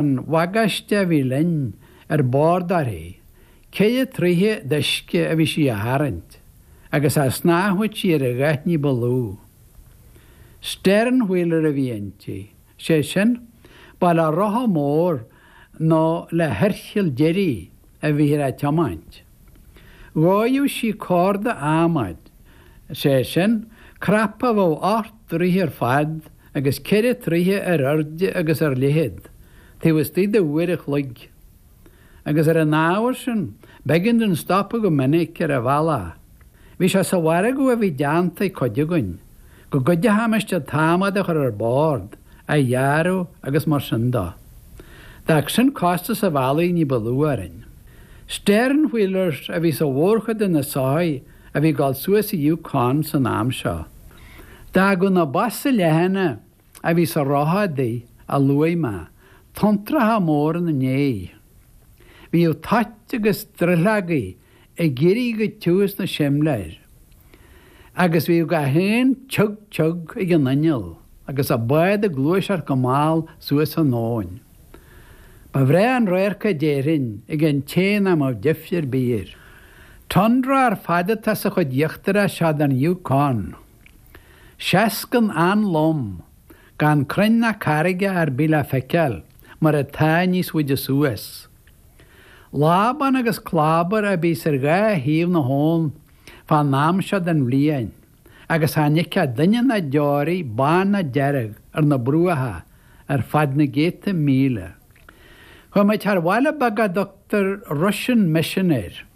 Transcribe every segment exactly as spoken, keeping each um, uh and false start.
an bhagáiste a bhí linn ar bord uirthi, ceithre troigh d'uisce a bhí sí a tharraingt, agus cha shnámhfadh sí ar a dhath ní ba lú. Sternwheeler a bhí inti, sé sin, ba le rotha mór nó le hoirchill deiridh a bhíthear á tiomáint. Dhóigheadh sí corda adhmaid, sé sin, cnaipe a bheadh ocht dtroigh ar fad agus ceithre troigh ar airde agus ar leithead, taobh istigh de uair a chloig. Agus ar an ábhar sin, b'éigean dúinn stopadh go minic ar an bhealach. Bhí sé sa mhargadh a bhí déanta ag cuid againn, go gcuideochaimis an t-adhmad a chur ar bord, a ghearradh agus mar sin de. D'fhág sin costas an bhealaigh ní ba lú orainn. Sternwheelers a bhí sa mhórchuid de na soithí a bhí ag dul suas an Yukon san am seo. D'fhágadh na bosa leathana a bhí sa rotha a luaigh mé, tonntracha móra ina ndiaidh. Bhíodh toit agus drithleogaí ag éirí go tiubh sna simléir, agus bhíodh gach aon tiug tiug ag an inneall agus an bád ag gluaiseacht go mall suas an abhainn. Ba bhreá an radharc é déarfainn ag an té nach mbeadh deifir ar bith air. Tundra ar fad atá sa chuid íochtarach seo den Yukon. Seascann an-lom, gan crainn ná carraigeacha ar bith le feiceáil mar atá níos faide suas. Lábán agus clábar a bhíos ar dhá thaobh na habhann fán am seo den bhliain, agus chan fheicfeá duine ná deoraí bán ná dearg ar na bruacha ar feadh na gcéadta míle. Chuaigh muid thar bhaile beag a dtugtar Russian Mission air.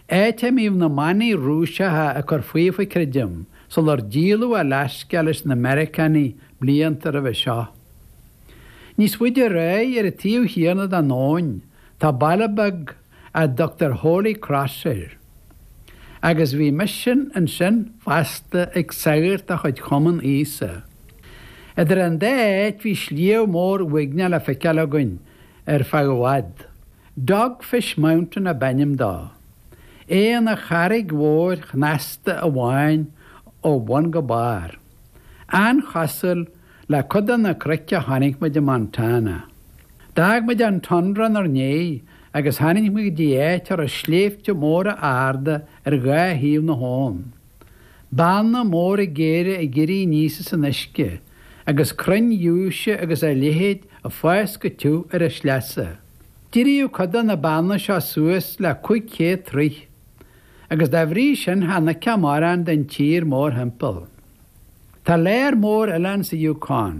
Áit a mbíodh na manaigh Rúiseacha ag cur faofa, creidim, sular díoladh Alasca leis na Meiriceánaigh blianta roimhe seo. Níos faide ar aghaidh ar an taobh chéanna den abhainn tá baile beag a dtugtar Holy Cross air. Agus bhí misean ansin fosta ag sagart de chuid Chumann Íosa. Idir an dá áit bhí sliabh mór uaigneach le feiceáil againn ar feadh i bhfad. Dogfish Mountain ab ainm dó. É ina charraig mhór shnasta amháin ó bhun go barr. An-chosúil le cuid de na cnoic a chonaic muid i Montana. D'fhág muid an tundra inár ndiaidh agus tháinig muid go dtí áit a raibh sléibhte móra arda ar dhá thaobh na habhann. Beanna móra géara ag éirí aníos as an uisce, agus crainn ghiúise agus a leithéid ag fás go tiubh ar a sleasa. D'éiríodh cuid de na beanna seo suas le cúig chéad troigh, agus dá bhrí sin chan fheicfeá mórán den tír mórthimpeall. Tá lear mór oileán sa Yukon.